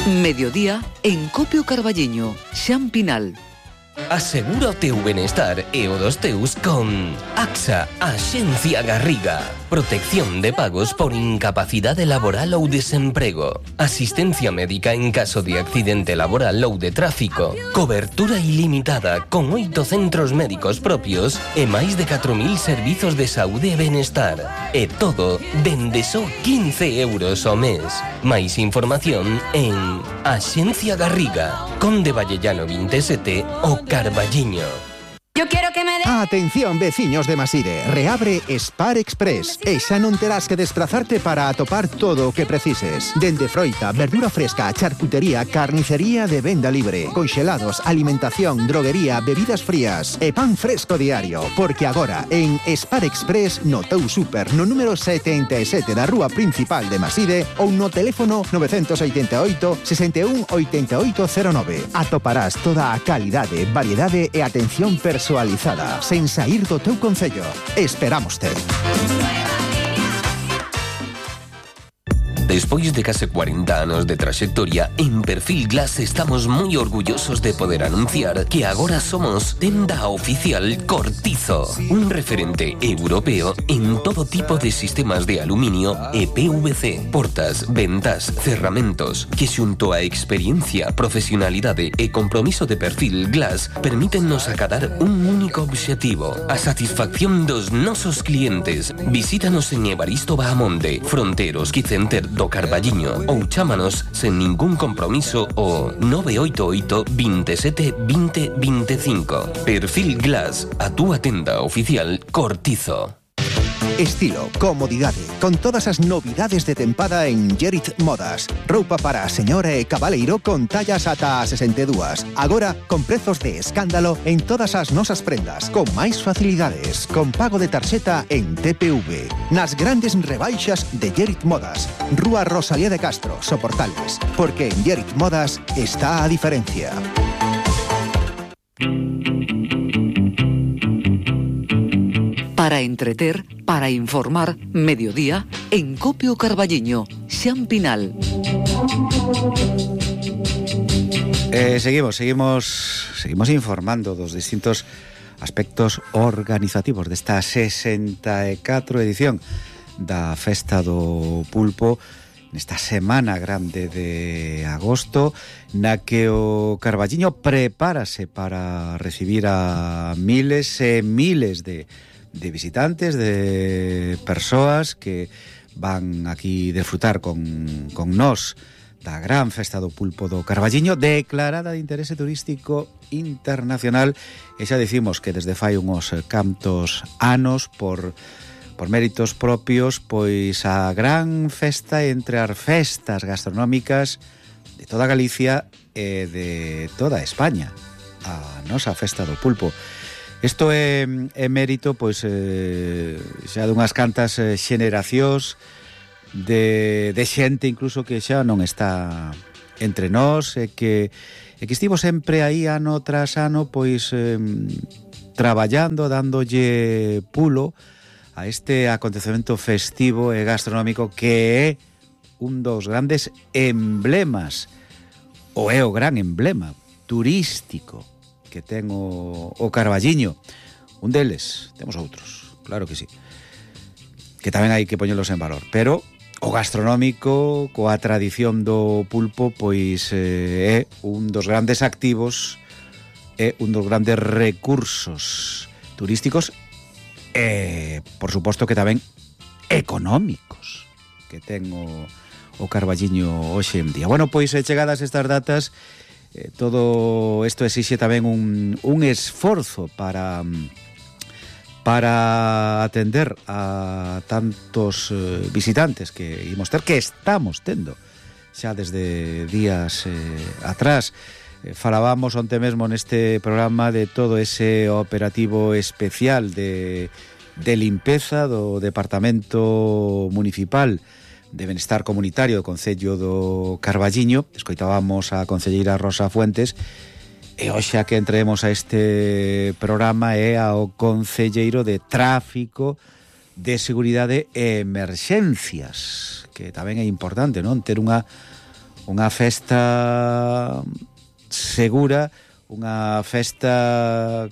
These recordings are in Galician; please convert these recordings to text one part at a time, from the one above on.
Mediodía en Copio Carballiño, Xampinal. Asegura o teu benestar e o dos teus con AXA, Axencia Garriga. Protección de pagos por incapacidade laboral ou desemprego. Asistencia médica en caso de accidente laboral ou de tráfico. Cobertura ilimitada con 8 centros médicos propios e máis de 4.000 servizos de saúde e benestar. E todo dende só 15 euros ao mes. Máis información en Axencia Garriga, Conde Vallellano 27 o Carballiño. Yo quiero que me dé... Atención, veciños de Maside, reabre Spar Express e xa non terás que desplazarte para atopar todo o que precises. Dende froita, verdura fresca, charcutería, carnicería de venda libre, conxelados, alimentación, droguería, bebidas frías e pan fresco diario. Porque agora, en Spar Express, no teu super, no número 77 da rúa principal de Maside ou no teléfono 988 61 8809. Atoparás toda a calidade, variedade e atención personalizada, sen saír do teu concello. Esperámoste. Despois de case 40 anos de traxectoria, en Perfil Glass estamos moi orgullosos de poder anunciar que agora somos tenda oficial Cortizo, un referente europeo en todo tipo de sistemas de aluminio e PVC, portas, ventas, cerramentos, que xunto a experiencia, profesionalidade e compromiso de Perfil Glass permítennos acadar un único obxectivo, a satisfacción dos nosos clientes. Visítanos en Evaristo Bahamonde, Fronteros Quicenter do Carballiño ou chámanos sen ningún compromiso o 988 27 20 25. Perfil Glass, a túa tenda oficial Cortizo. Estilo, comodidade, con todas as novidades de tempada en Gerit Modas. Roupa para a señora e cabaleiro con tallas ata 62. Agora, con prezos de escándalo en todas as nosas prendas, con máis facilidades, con pago de tarxeta en TPV. Nas grandes rebaixas de Gerit Modas. Rúa Rosalía de Castro, Soportales. Porque en Gerit Modas está a diferencia. Para entreter, para informar, Mediodía en Copio Carballiño, Xampinal. Seguimos informando dos distintos aspectos organizativos desta 64 edición da Festa do Pulpo, nesta semana grande de agosto, na que o Carballiño prepárase para recibir a miles e miles de visitantes, de persoas que van aquí disfrutar con nós da gran Festa do Pulpo do Carballiño, declarada de interese turístico internacional, e xa dicimos que desde fai uns cantos anos por méritos propios, pois a gran festa entre as festas gastronómicas de toda Galicia e de toda España, a nosa Festa do Pulpo. Isto é mérito, pois, xa dunhas cantas xeneracións de xente incluso que xa non está entre nós e que estivo sempre aí ano tras ano, pois, traballando, dándolle pulo a este acontecemento festivo e gastronómico que é un dos grandes emblemas, ou é o gran emblema turístico que ten o Carballiño. Un deles, temos outros, claro que sí, que tamén hai que poñelos en valor, pero o gastronómico, coa tradición do pulpo, pois é un dos grandes activos, é un dos grandes recursos turísticos e, por suposto, que tamén económicos que ten o Carballiño hoxe en día. Bueno, pois chegadas estas datas, todo isto exixe tamén un esforzo para atender a tantos visitantes que imos ter, que estamos tendo xa desde días atrás. Falábamos onte mesmo neste programa de todo ese operativo especial de limpeza do Departamento Municipal de Benestar Comunitario do Concello do Carballiño. Escoitábamos a concelleira Rosa Fuentes, e hoxe a que entremos a este programa é ao concelleiro de Tráfico, de Seguridade e Emerxencias, que tamén é importante, non? Ter unha unha festa segura, unha festa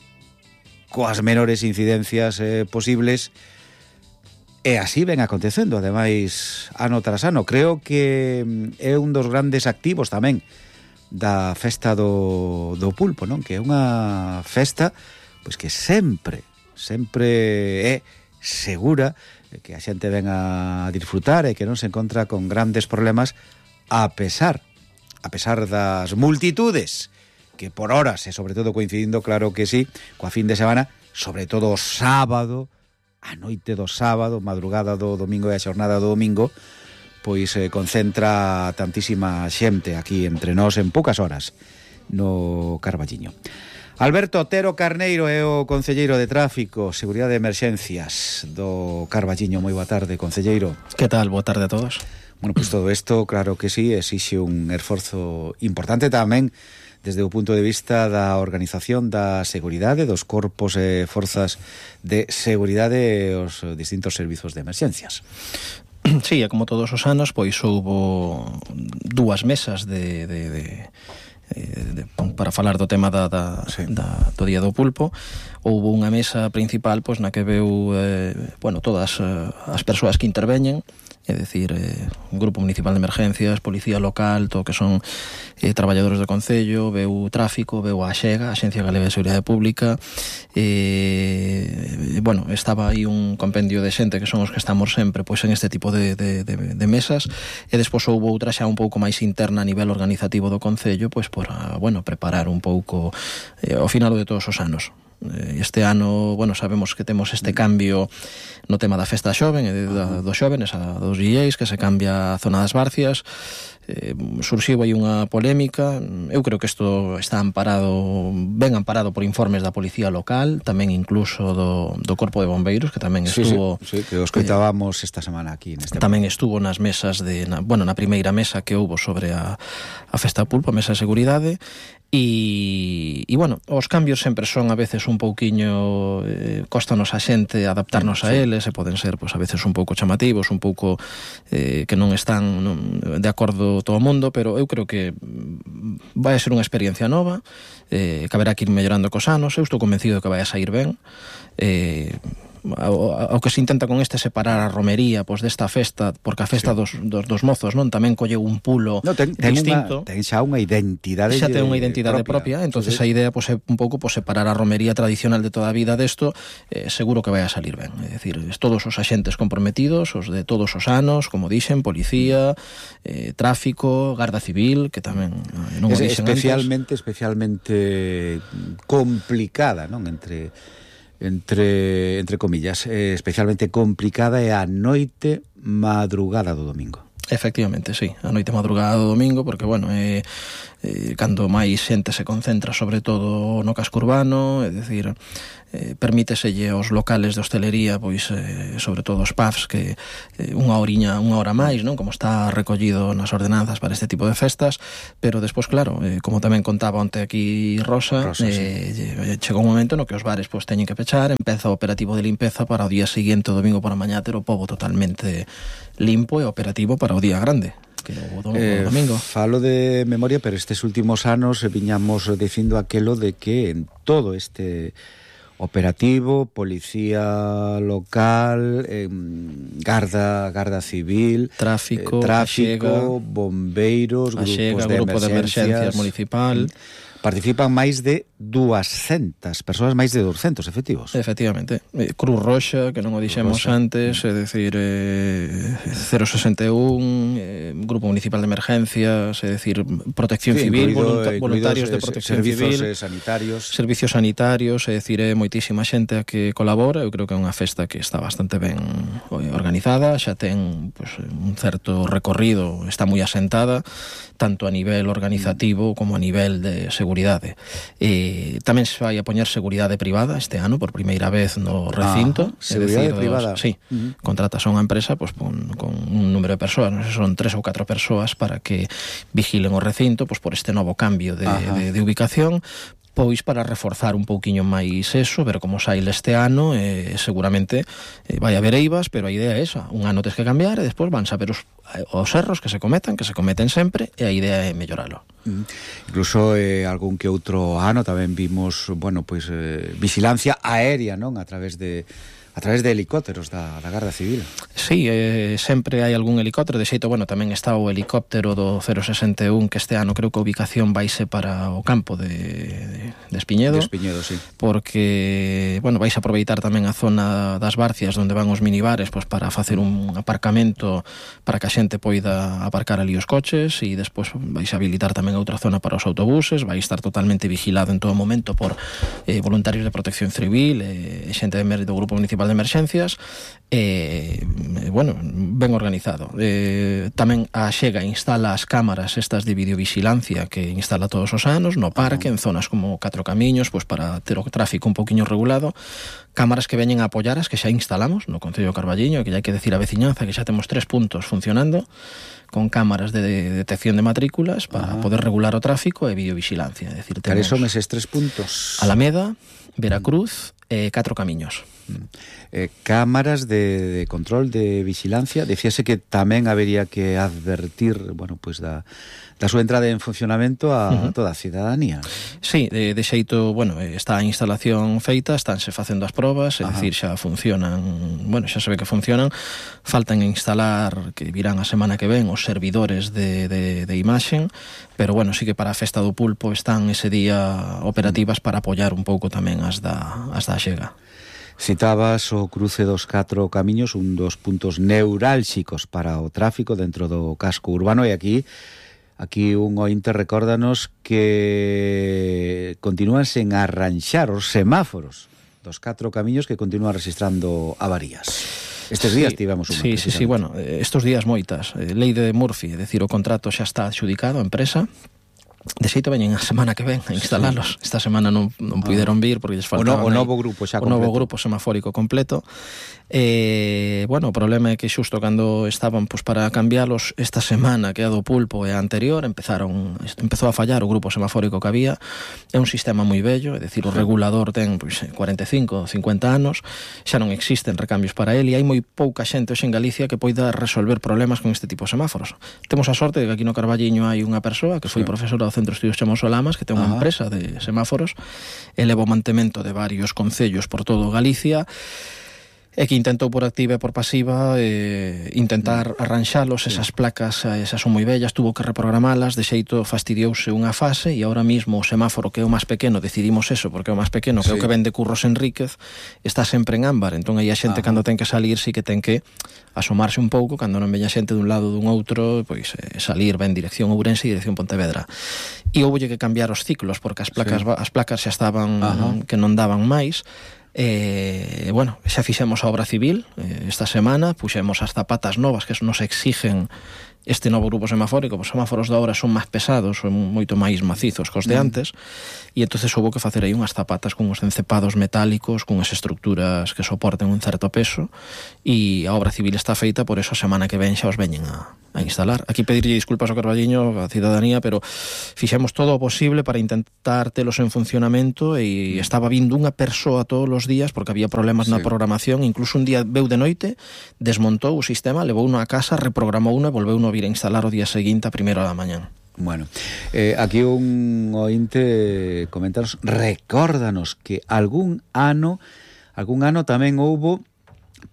coas menores incidencias posibles, e así ven acontecendo, ademais, ano tras ano. Creo que é un dos grandes activos tamén da festa do pulpo, non? Que é unha festa pois que sempre é segura, que a xente ven a disfrutar e que non se encontra con grandes problemas a pesar das multitudes que por horas, e sobre todo coincidindo, claro que sí, coa fin de semana, sobre todo o sábado, a noite do sábado, madrugada do domingo e a xornada do domingo, pois concentra tantísima xente aquí entre nós en poucas horas no Carballiño. Alberto Otero Carneiro é o concelleiro de Tráfico, Seguridade e Emerxencias do Carballiño. Moi boa tarde, concelleiro. Que tal? Boa tarde a todos. Bueno, pois todo isto, claro que sí, exixe un esforzo importante tamén desde o punto de vista da organización da seguridade, dos corpos e forzas de seguridade e os distintos servizos de emerxencias. Sí, e como todos os anos, pois houbo dúas mesas para falar do tema do Día do Pulpo. Houbo unha mesa principal pois na que veu todas as persoas que interveñen, é dicir, un grupo municipal de emergencias, policía local, todo que son traballadores do Concello, veu Tráfico, veu a Axega, a Axencia Galega de Seguridade Pública, estaba aí un compendio de xente que son os que estamos sempre pois en este tipo de mesas, e despois houve outra xa un pouco máis interna a nivel organizativo do Concello, pois para, preparar un pouco ao final de todos os anos. Este ano, sabemos que temos este cambio no tema da festa xoven e dos xóvenes, dos DJs, que se cambia a zona das Barcias. Surxiu aí unha polémica. Eu creo que isto está ben amparado por informes da policía local, tamén incluso do Corpo de Bombeiros, que tamén estuvo... Sí, que os coitábamos esta semana aquí neste tamén estuvo nas mesas na primeira mesa que houbo sobre a festa pulpo, a mesa de seguridade. E os cambios sempre son a veces un pouquiño costanos a xente adaptarnos a eles, e poden ser a veces un pouco chamativos, un pouco que non están de acordo todo o mundo, pero eu creo que vai a ser unha experiencia nova, que haberá que ir mellorando cos anos. Eu estou convencido de que vai a sair ben. Ao que se intenta con este separar a romería pois desta festa, porque a festa dos mozos non tamén colleu un pulo distinto. Ten xa unha identidade xa ten unha identidade propia, entonces a idea é un pouco separar a romería tradicional de toda a vida desto. Seguro que vai a salir ben, é dicir, todos os axentes comprometidos, os de todos os anos, como dixen, policía, tráfico, garda civil, que tamén non o dixen especialmente complicada, non? Entre comillas, especialmente complicada é a noite madrugada do domingo. Efectivamente, sí, a noite madrugada do domingo, porque, cando máis xente se concentra sobre todo no casco urbano, é dicir, permíteselle aos locales de hostelería, pois, sobre todo os pubs, que unha hora máis, non? Como está recollido nas ordenanzas para este tipo de festas, pero despois, claro, como tamén contaba onte aquí Rosa, chegou un momento no que os bares pois teñen que pechar, empeza o operativo de limpeza para o día seguinte, o domingo por a mañá, ter o pobo totalmente limpo e operativo para o día grande, que o domingo. Falo de memoria, pero estes últimos anos viñamos dicindo aquelo de que en todo este operativo, policía local, garda civil, tráfico, bombeiros, grupo de emerxencias municipal, participan máis de 200 persoas, máis de 200 efectivos. Efectivamente. Cruz Roxa, que non o dixemos antes, é dicir, 061, Grupo Municipal de Emergencias, é dicir, Protección Civil, voluntarios de Protección Civil, servicios sanitarios, é dicir, é moitísima xente a que colabora. Eu creo que é unha festa que está bastante ben organizada, xa ten un certo recorrido, está moi asentada, tanto a nivel organizativo como a nivel de seguridade. Tamén se vai a poñer seguridade privada este ano por primeira vez no recinto. Seguridade privada? Sí, contratas a unha empresa con un número de persoas, non sei, son 3 ou 4 persoas para que vigilen o recinto por este novo cambio de ubicación. pois para reforzar un pouquiño máis eso, ver como sai este ano, seguramente vai haber eivas, pero a idea é esa, un ano tes que cambiar e despois van saber os erros que se cometen sempre, e a idea é melloralo. Incluso algún que outro ano tamén vimos, bueno, pois vigilancia aérea, non? A través de helicópteros da Garda Civil. Sí, sempre hai algún helicóptero, de xeito, bueno, tamén está o helicóptero do 061, que este ano creo que a ubicación vaise para o campo de Espiñedo. De Espiñedo, sí. Porque, bueno, vais a aproveitar tamén a zona das Barcias, onde van os minibares, pois para facer un aparcamento para que a xente poida aparcar ali os coches, e despois vais a habilitar tamén outra zona para os autobuses, vai estar totalmente vigilado en todo momento por voluntarios de protección civil, xente do Grupo Municipal de Emerxencias, bueno, ben organizado. Tamén a Xega instala as cámaras estas de videovigilancia que instala todos os anos no parque, en zonas como 4 camiños, pois para ter o tráfico un poquinho regulado, cámaras que veñen a apoiar as que xa instalamos no Concello de Carballiño, que ya hai que decir a veciñanza que xa temos 3 puntos funcionando con cámaras de detección de matrículas para poder regular o tráfico e videovigilancia. É dicir, Cales son eses 3 puntos? Alameda, Veracruz e 4 camiños. Cámaras de control, de vigilancia. Decíase que tamén habería que advertir, bueno, pois da súa entrada en funcionamento a toda a cidadanía. Sí, de xeito, bueno, está a instalación feita, estánse facendo as probas, é dicir, xa funcionan, bueno, xa se ve que funcionan, faltan instalar, que virán a semana que ven, os servidores de imaxen, pero bueno, sí que para a Festa do Pulpo están ese día operativas para apoiar un pouco tamén as da Xega. Citabas o cruce dos 4 camiños, un dos puntos neurálxicos para o tráfico dentro do casco urbano, e aquí un ointe recórdanos que continúan sen arranxar os semáforos dos 4 camiños, que continúan registrando avarías. Estes días tivemos unha. Sí, bueno, estes días moitas. Lei de Murphy, é dicir, o contrato xa está adxudicado a empresa. De xeito veñen a semana que ven a instalalos. Esta semana non puideron vir porque lles faltaba o novo grupo xa completo. O novo grupo semafórico completo. Bueno, o problema é que xusto cando estaban pois para cambialos esta semana, que é a do Pulpo e a anterior, empezou a fallar o grupo semafórico que había. É un sistema moi vello, é dicir, o regulador ten pois 45, 50 anos, xa non existen recambios para ele, e hai moi pouca xente hoxe en Galicia que poida resolver problemas con este tipo de semáforos. Temos a sorte de que aquí no Carballiño hai unha persoa que foi profesora do Centro de Estudios Chamoso Lamas, que ten unha empresa de semáforos, eleva o mantemento de varios concellos por todo Galicia, e que intentou por activa e por pasiva intentar arranxalos, esas placas, esas son moi bellas, tuvo que reprogramalas, de xeito fastidiouse unha fase, e ahora mismo o semáforo, que é o máis pequeno, decidimos eso, porque é o máis pequeno, que é o que vende Curros Enríquez, está sempre en ámbar, entón aí a xente cando ten que salir sí que ten que asomarse un pouco, cando non veña xente dun lado dun outro, pois salir ben dirección Ourense e dirección Pontevedra. E houbolle que cambiar os ciclos, porque as placas xa estaban que non daban máis. Bueno, xa fixemos a obra civil esta semana, puxemos as zapatas novas que nos exigen este novo grupo semafórico. Os semáforos de obra son máis pesados, son moito máis macizos que os de antes, e entonces houve que facer aí unhas zapatas con uns encepados metálicos, con unhas estructuras que soporten un certo peso, e a obra civil está feita, por eso a semana que ven xa os veñen a instalar. Aquí pedirlle disculpas ao Carballiño, a cidadanía, pero fixemos todo o posible para intentar telos en funcionamento, e estaba vindo unha persoa todos os días porque había problemas na programación. Incluso un día veu de noite, desmontou o sistema, levou unha a casa, reprogramou unha e volveu a vir a instalar o día seguinte a primeira da mañán. Bueno, aquí un ointe comentanos, recórdanos que algún ano tamén houbo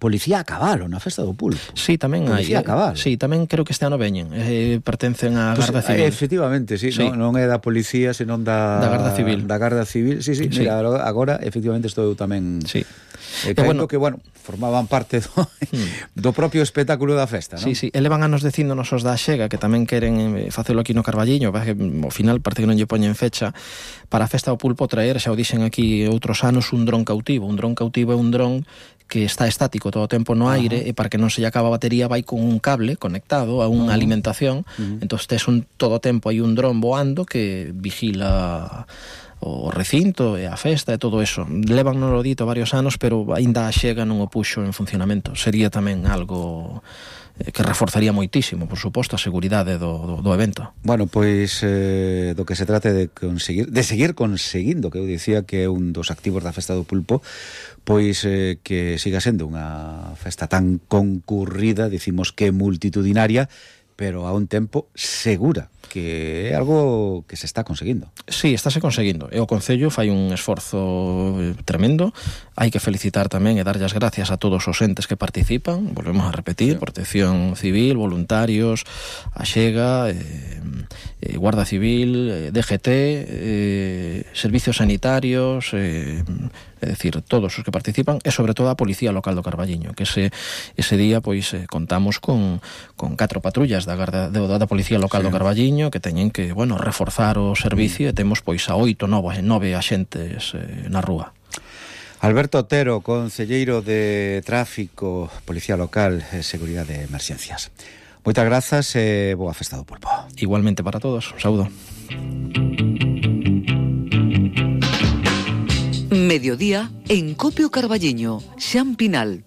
policía a cabalo na Festa do Pulpo. Sí, tamén hai. Policía a cabalo. Sí, tamén creo que este ano veñen. Pertencen á Garda Civil. Efectivamente, sí. Non é da policía, senón da Garda Civil. Da Garda Civil, sí. Mira, agora, efectivamente, estou tamén... Sí. Creo que, bueno, formaban parte do propio espectáculo da festa, non? Sí, elevan anos dicíndonos os da Xega que tamén queren facelo aquí no Carballiño, que ao final parece que non lle poñen fecha para a Festa do Pulpo traer, xa o dixen aquí outros anos, un dron cautivo. Un dron cautivo é un dron que está estático todo o tempo no aire, e para que non se lle acaba a batería vai con un cable conectado a unha alimentación. Entón tes todo o tempo hai un dron voando que vigila recinto e a festa e todo eso. Levan no dito varios anos, pero aínda a Xega non o puxo en funcionamento. Sería tamén algo que reforzaría moitísimo, por suposto, a seguridade do evento. Bueno, pois do que se trate de seguir conseguindo, que eu dicía que é un dos activos da Festa do Pulpo, pois que siga sendo unha festa tan concurrida, dicimos que multitudinaria, pero a un tempo segura, que é algo que se está conseguindo. Sí, estáse conseguindo. E o Concello fai un esforzo tremendo. Hai que felicitar tamén e darlle as gracias a todos os entes que participan. Volvemos a repetir, Protección Civil, voluntarios, a Xega, Guarda Civil, DGT, servicios sanitarios, é dicir, todos os que participan, e sobre todo a Policía Local do Carballiño, que ese día pois contamos con 4 patrullas da Policía Local do Carballiño que teñen que, bueno, reforzar o servicio, e temos pois a 9 axentes na rúa. Alberto Otero, concelleiro de Tráfico, Policía Local e Seguridade de Emerxencias. Moitas grazas e boa Festa do Pulpo. Igualmente para todos, un saúdo. Mediodía en Copio Carballiño, Xan Pinal.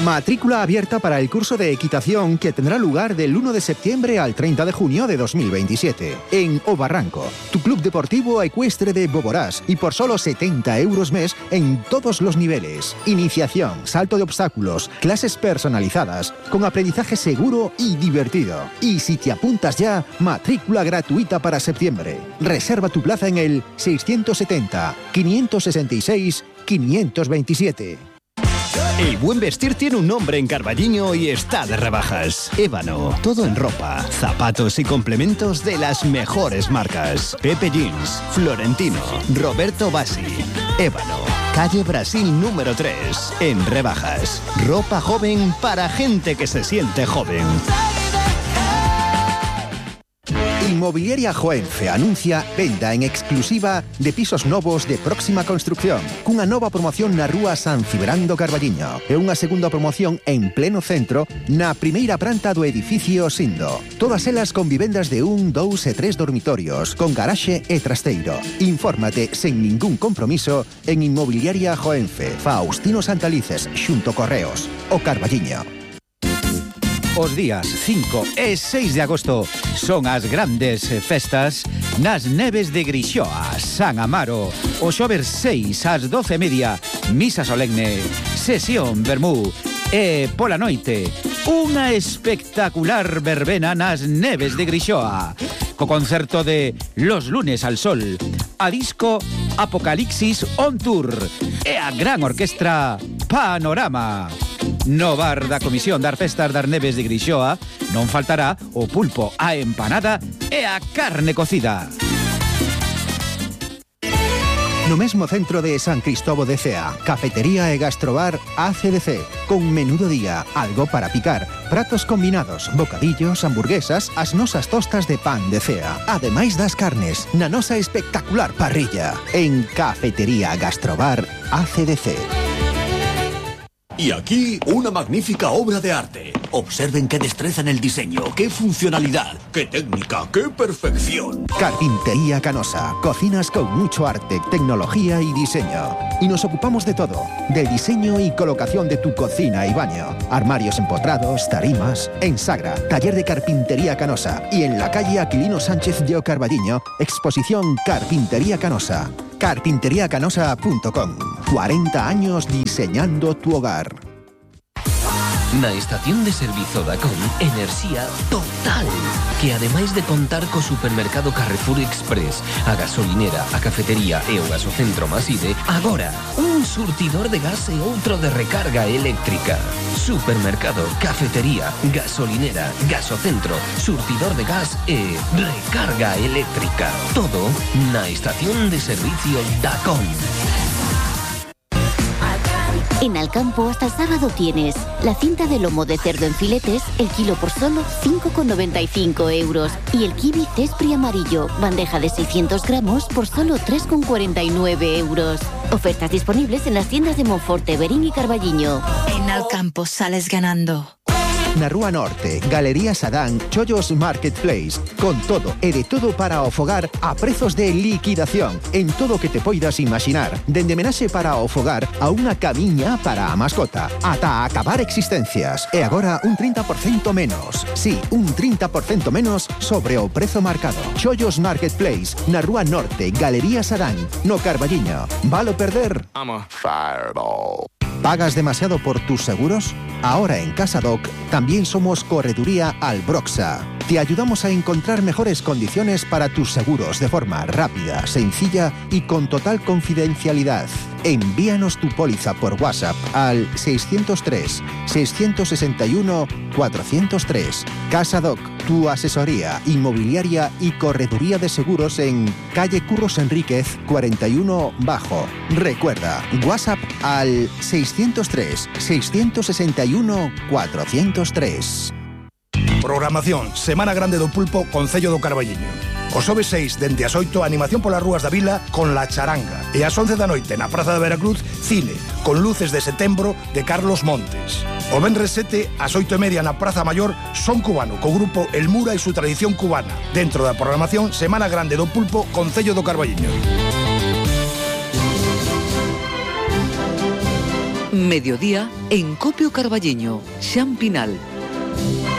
Matrícula abierta para el curso de equitación que tendrá lugar del 1 de septiembre al 30 de junio de 2027 en O Barranco, tu club deportivo ecuestre de Boborás, y por solo 70 euros mes en todos los niveles. Iniciación, salto de obstáculos, clases personalizadas, con aprendizaje seguro y divertido. Y si te apuntas ya, matrícula gratuita para septiembre. Reserva tu plaza en el 670 566 527. El buen vestir tiene un nombre en Carballiño y está de rebajas. Ébano, todo en ropa, zapatos y complementos de las mejores marcas. Pepe Jeans, Florentino, Roberto Bassi. Ébano, calle Brasil número 3, en rebajas. Ropa joven para gente que se siente joven. Inmobiliaria Joenfe anuncia venda en exclusiva de pisos novos de próxima construcción, cunha nova promoción na rúa San Cibrán do Carballiño e unha segunda promoción en pleno centro na primeira planta do edificio Sindo. Todas elas con vivendas de 1, 2 e 3 dormitorios, con garaxe e trasteiro. Infórmate sen ningún compromiso en Inmobiliaria Joenfe, Faustino Santalices, xunto Correos, o Carballiño. Os días 5 e 6 de agosto son as grandes festas nas neves de Grixoa, San Amaro. O xoves 6 ás 12:30, misa solemne, sesión vermú e pola noite unha espectacular verbena nas neves de Grixoa, co concerto de Los Lunes al Sol, a disco Apocalipsis on Tour e a gran orquestra Panorama. No bar da Comisión das Festas das Neves de Grixoa non faltará o pulpo, a empanada e a carne cocida. No mesmo centro de San Cristóbal de Cea, cafetería e gastrobar ACDC, con menú do día, algo para picar, pratos combinados, bocadillos, hamburguesas, as nosas tostas de pan de Cea, ademais das carnes, na nosa espectacular parrilla, en Cafetería Gastrobar ACDC. Y aquí una magnífica obra de arte. Observen qué destreza en el diseño, qué funcionalidad, qué técnica, qué perfección. Carpintería Canosa. Cocinas con mucho arte, tecnología y diseño. Y nos ocupamos de todo. Del diseño y colocación de tu cocina y baño. Armarios empotrados, tarimas. En Sagra, taller de Carpintería Canosa. Y en la calle Aquilino Sánchez de Carballiño, exposición Carpintería Canosa. Carpinteriacanosa.com. 40 años diseñando tu hogar. Na estación de servizo Dacón, enerxía total, que ademais de contar co supermercado Carrefour Express, a gasolinera, a cafetería e o gasocentro Maside, agora un surtidor de gas e outro de recarga eléctrica. Supermercado, cafetería, gasolinera, gasocentro, surtidor de gas e recarga eléctrica. Todo na estación de servicio Dacón. En Alcampo hasta el sábado tienes la cinta de lomo de cerdo en filetes, el kilo por solo 5,95 euros. Y el kiwi cespri amarillo, bandeja de 600 gramos por solo 3,49 euros. Ofertas disponibles en las tiendas de Monforte, Berín y Carballiño. En Alcampo sales ganando. na Rúa Norte, Galería Sadán, Chollos Marketplace, con todo e de todo para o fogar a prezos de liquidación en todo o que te poidas imaginar, dende menaxe para o fogar a unha camiña para a mascota, ata acabar existencias. E agora un 30% menos. Sí, un 30% menos sobre o prezo marcado. Chollos Marketplace, na Rúa Norte, Galería Sadán, no Carballiño. ¿Valo perder? Fireball. ¿Pagas demasiado por tus seguros? Ahora en Casadoc también somos Correduría Albroxa. Te ayudamos a encontrar mejores condiciones para tus seguros de forma rápida, sencilla y con total confidencialidad. Envíanos tu póliza por WhatsApp al 603-661-403. Casadoc, tu asesoría inmobiliaria y correduría de seguros en calle Curros Enríquez 41 Bajo. Recuerda, WhatsApp al 603-661-403. Programación Semana Grande do Pulpo, Concello do Carballiño. O xoves 6, dende as 8, animación polas rúas da vila con La Charanga. E ás 11 da noite, na Praza de Veracruz, cine, con Luces de Setembro, de Carlos Montes. O venres 7, ás 8:30 na Praza Mayor, Son Cubano, co grupo El Mura e su tradición cubana. Dentro da programación Semana Grande do Pulpo, Concello do Carballiño. Mediodía en Copio Carballiño, Xan Pinal.